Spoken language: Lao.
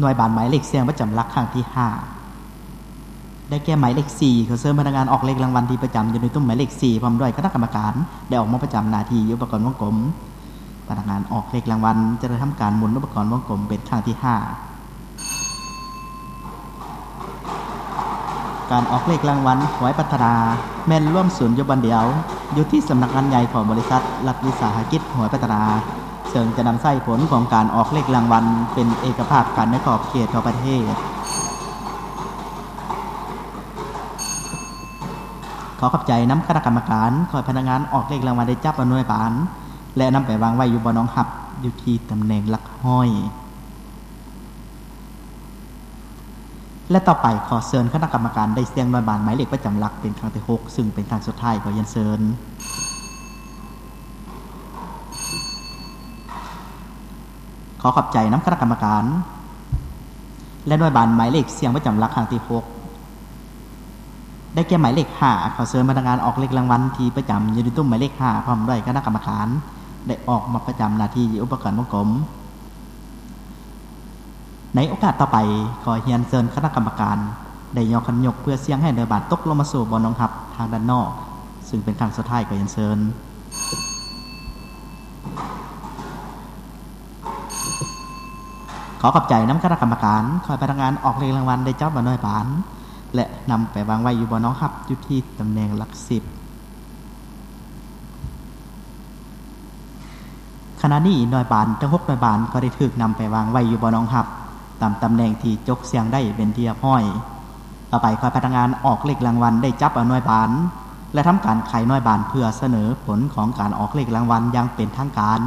ໜ່ວຍບານໝາຍເລກສ່ຽງປະຈຳຫຼັກຄັ້ງທີຫ້າ ໄດ້ແກ່ໝາຍເລກສີ່. ຂໍເຊີນພະນັກງານອອກເລກລາງວັນທີ່ປະຈຳຢູ່ໃນຕຸ້ມໝາຍເລກສີ່ ພ້ອມດ້ວຍຄະນະກຳມະການ ໄດ້ອອກມາປະຈຳໜ້າທີ່ຢູ່ອຸປະກອນວົງກົມ. ພະນັກງານອອກເລກລາງວັນຈະໄດ້ທຳການໝູນອຸປະກອນວົງກົມເປັນຄັ້ງທີຫ້າ. ການອອກເລກລາງວັນຫວຍພັດທະນາ ແມ່ນລວມສູນຢູ່ບ່ອນດຽວ ຢູ່ທີ່ສຳນັກງານໃຫຍ່ຂອງບໍລິສັດລັດວິສາຫະກິດຫວຍພັດທະນາ ເຊິ່ງຈະນຳໃຊ້ຜົນຂອງການອອກເລກລາງວັນເປັນເອກະພາບກັນໃນຂອບເຂດຂອງປະເທດ. ຂໍຂອບໃຈນຳຄະນະກຳມະການ. ຂໍໃຫ້ພະນັກງານອອກເລກລາງວັນໄດ້ຈັບເອົາໜ່ວຍບານ ແລະ ນຳໄປວາງໄວ້ຢູ່ບ່ອນຮອງຮັບ ຢູ່ທີ່ຕຳແໜ່ງຫຼັກຮ້ອຍ. ແລະ ຕໍ່ໄປ ຂໍເຊີນຄະນະກຳມະການໄດ້ສ່ຽງໜ່ວຍບານໝາຍເລກປະຈຳຫຼັກເປັນຄັ້ງທີຫົກ ຊຶ່ງເປັນຄັ້ງສຸດທ້າຍ. ຂໍຮຽນເຊີນ. ຂໍຂອບໃຈນຳຄະນະກຳມະການ. ແລະ ໜ່ວຍບານໝາຍເລກສ່ຽງປະຈຳຫຼັກຄັ້ງທີຫົກ ໄດ້ແກ່ໝາຍເລກຫ້າ. ຂໍເຊີນພະນັກງານອອກເລກລາງວັນທີ່ປະຈຳຢູ່ໃນຕຸ້ມໝາຍເລກຫ້າ ພ້ອມດ້ວຍຄະນະກຳມະການ ໄດ້ອອກມາປະຈຳໜ້າທີ່ຢູ່ອຸປະກອນວົງກົມ. ໃນໂອກາດຕໍ່ໄປ, ຂໍຮຽນເຊີນຄະນະກຳມະການໄດ້ຍໍຄັນຍົກເພື່ອສ່ຽງໃຫ້ໜ່ວຍບານຕົກລົງມາສູ່ບ່ອນຮອງຮັບທາງດ້ານນອກ, ຊຶ່ງເປັນຄັ້ງສຸດທ້າຍ. ຂໍຮຽນເຊີນ. ຂໍຂອບໃຈນຳຄະນະກຳມະການ. ຂໍໃຫ້ພະນັກງານອອກເລກລາງວັນໄດ້ຈັບເອົາໜ່ວຍບານ ແລະ ນຳໄປວາງໄວ້ຢູ່ບ່ອນຮອງຮັບ ຢູ່ທີ່ຕຳແໜ່ງຫຼັກສິບ. ຂະນະນີ້ໜ່ວຍບານທັງຫົກໜ່ວຍບານກໍໄດ້ຖືກນຳໄປວາງໄວ້ຢູ່ບ່ອນຮອງຮັບ ຕາມຕຳແໜ່ງທີ່ຈົກສ່ຽງໄດ້ເປັນທີ່ຮຽບຮ້ອຍ. ຕໍ່ໄປຂໍໃຫ້ພະນັກງານອອກເລກລາງວັນໄດ້ຈັບເອົາໜ່ວຍບານ ແລະ ທຳການໄຂໜ່ວຍບານເພື່ອສະເໜີຜົນຂອງການອອກເລກລາງວັນຢ່າງເປັນທາງການ.